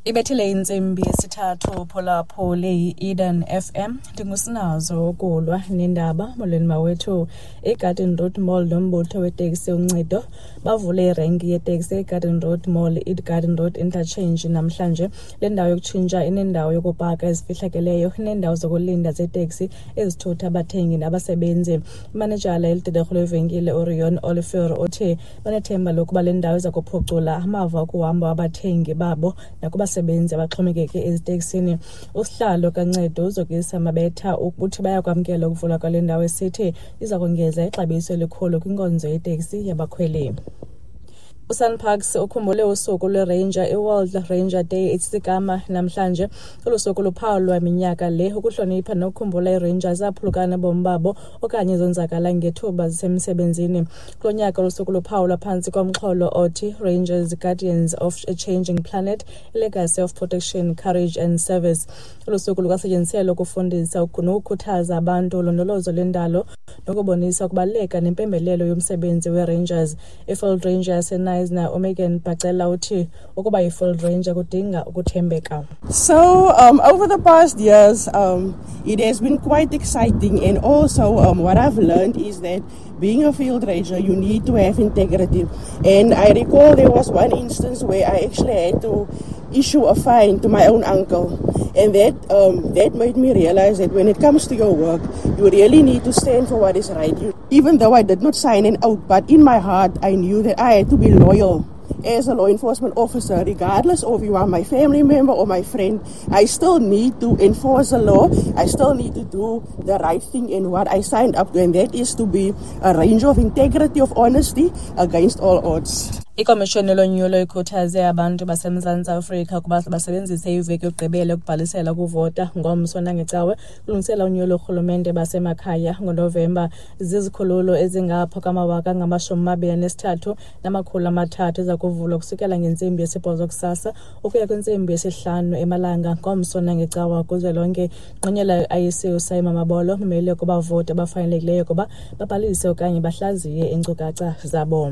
Ibethile intsimbi yesithathu phulaphuli yi-Eden FM. Ndingusinazo ukulwa nendaba. Molweni mawethu. IGarden Road Mall nombutho weteksi Uncedo bavule irenki yeteksi eGarden Road Mall, iGarden Road Interchange namhlanje. Le ndawo yokutshintsha inendawo yokupaka ezifihlakeleyo, ineendawo zokulinda zeteksi ezithutha abathengi nabasebenzi. Imanejala elidederhu lwevenkile uRion Olivier uthi banethemba lokuba le ndawo iza kuphucula amava okuhamba wabathengi babo nakubasebenzi abaxhomekeke eziteksini. Usihlalo kaNcedo uZokisa Mabetha uthi bayakwamkela ukuvulwa kwale ndawo, esithi iza kongeza ixabiso elikhulu kwinkonzo yeteksi yabakhweli. USANParks ukhumbule usuku lweRanger, iWorld Ranger Day isigama namhlanje. Olu suku luphawulwa minyaka le ukuhlonipha nokukhumbula iiRangers ezaphulukana nobomi babo okanye zonzakala ngethuba zisemsebenzini. Kulo nyaka olu suku luphawulwa phantsi komxholo othi Rangers Guardians of a Changing Planet, Legacy of Protection, Courage and Service. Olu suku lukwasetyenziselwa ukufundisa nokukhuthaza abantu ulondolozo lwendalo nokubonisa ukubaluleka nempembelelo yomsebenzi weRangers. IField Ranger yaseKnysna uMegan Bacela uthi ukuba yiField Ranger kudinga ukuthembeka. So over the past years, it has been quite exciting, and also what I've learned is that being a field ranger, you need to have integrity. And I recall there was one instance where I actually had to issue a fine to my own uncle, and that made me realize that when it comes to your work, you really need to stand for what is right. Even though I did not sign an oath, but in my heart I knew that I had to be loyal as a law enforcement officer, regardless of you are my family member or my friend. I still need to enforce the law. I still need to do the right thing in what I signed up to, and that is to be a ranger of integrity, of honesty against all odds. Ikomishoni lonyulo ikhuthaze abantu baseMzantsi Afrika ukuba basebenzise iveki yokugqibela yokubhalisela ukuvota ngomso nangecawe kulungisela unyulo lorhulumente basemakhaya ngoNovemba. Zizikhululo ezingapha kwamawaka angama-23 300 eza kuvulwa kusukela ngentsimbi yesibhozo kusasa ukuya kwintsimbi yesihlanu emalanga ngomso nangecawa kuzwelonke. Ngqonyela i-IEC uSimon Mabolo umele kubavoti abafanelekileyo ukuba babhalise okanye bahlaziye iinkcukacha zabo.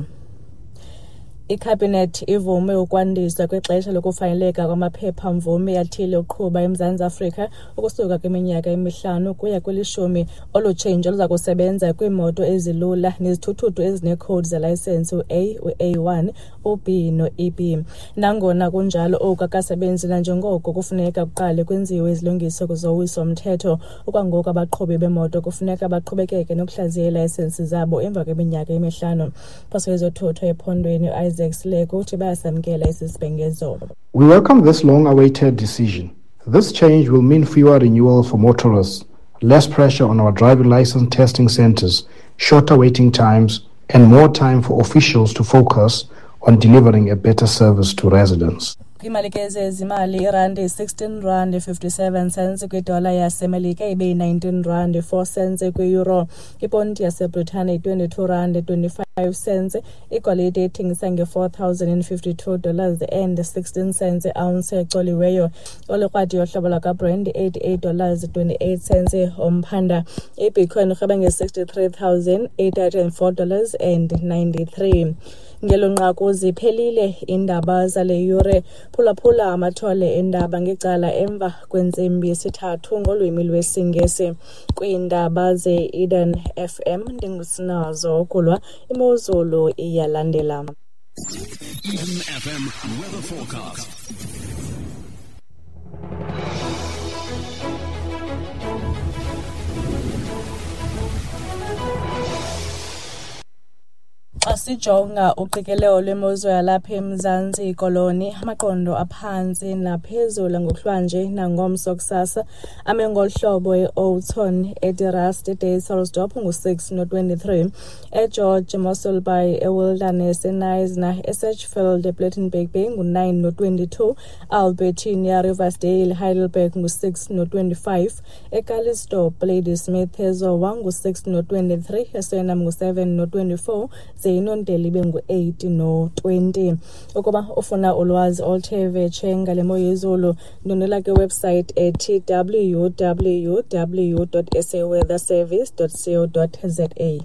Ikhabhinethi ivume ukwandiswa kwexesha lokufaneleka kwamaphepha-mvume athile okuqhuba eMzantsi Afrika ukusuka kwiminyaka emihlanu ukuya kwelishumi. Olu tshintsho luza kusebenza kwiimoto ezilula nezithuthuthu ezineekhowudi zelayisensi u-A, u-A1, u-B no-EB. Nangona kunjalo, oku akukasebenzi nanjengoko kufuneka kuqale kwenziwe izilungiso zowiso-mthetho. Okwangoku abaqhubi beemoto kufuneka baqhubekeke nokuhlaziya iilayisensi zabo emva kweminyaka emihlanu. Phaso yezothutho ephondweni uIsaac Sileku uthi bayasamkela esi sibhengezo. We welcome this long-awaited decision. This change will mean fewer renewals for motorists, less pressure on our driving license testing centers, shorter waiting times, and more time for officials to focus on delivering a better service to residents. Kwiimalike zezimali, irandi 16 rand 57 cents kwidola yaseMelika, ibe yi-19 rand 4 cents kwi-euro. Iponti yaseBritane 22 rand 25 cents. Igolide ithengisa nge-$4,052 and 16 cents ounce ecoliweyo. Olikrwadi yohlobo lwakwaBrent $88 28 cents umphanda. Ibitcoin irhweba nge-$63,804 and 93. Ngelo nqaku ziphelile iindaba zale yure. Phulaphula amathole eendaba ngecala emva kwentsimbi yesithathu ngolwimi lwesiNgesi. Kwiindaba ze-Eden FM ndingusinazo ukulwa. Imozulu iyalandela. Eden FM weather forecast. Xa sijonga uqikelelo lwemozulu yalapha eMzantsi Koloni, amaqondo aphantsi naphezulu ngokuhlwanje nangomso kusasa ame ngolu hlobo: eOudtshoorn, eDe Rust, eDysselsdorp ngu-6 no-23, eGeorge, Mossel Bay, eWilderness, eKnysna, eSedgefield, ePlettenberg Bay ngu-9 no-22, Albertina, Riversdale, Heidelberg ngu-6 no-25, eCalitzdorp, Ladysmith, eZowa ngu-6 no-23, eSuriname ngu-7 no-24, ze iNontele ibe ngu-8 no-20. Ukuba ufuna ulwazi oluthe vetshe ngale mo yezulu, ndwendwela kwiwebsite ethi www.saweatherservice.co.za.